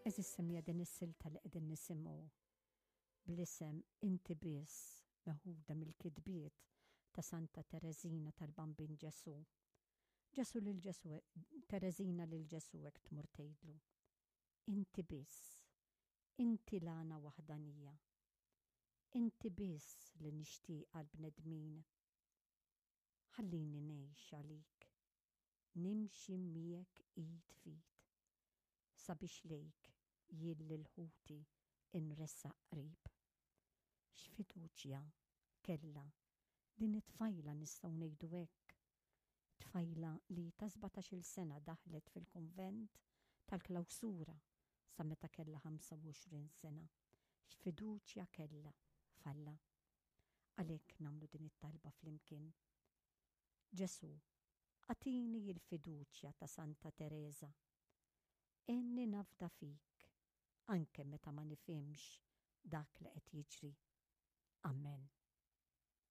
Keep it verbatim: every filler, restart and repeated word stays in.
Għeżież semmiegħa, din is-silta li qegħdin nisimgħu bl-isem "Inti Biss", meħuda mill-kitbiet ta' Santa Tereżina tal-Bambin Ġesu. Ġesu lil Ġesu, Tereżina lil Ġesu hekk tmur tgħidlu: "Inti biss, inti l-għana waħdanija. Inti biss li nixtieq għall-bnedmin. Ħallini ngħix għalik, nimxi miegħek id f'id, sabiex lejk jien lil ħuti inressaq qrib." X'fiduċja kellha din it-tfajla, nistgħu ngħidu hekk. Tfajla li ta' sbatax-il sena daħlet fil-konvent tal-klawsura sa meta kellha ħamsa u għoxrin sena. X'fiduċja kellha f'Alla. Għalhekk nagħmlu din it-talba flimkien. Ġesu, agħtini il-fiduċja ta' Santa Teresa. Għinni nafda fik, anke meta ma nifhimx dak li qed jiġri. Amen.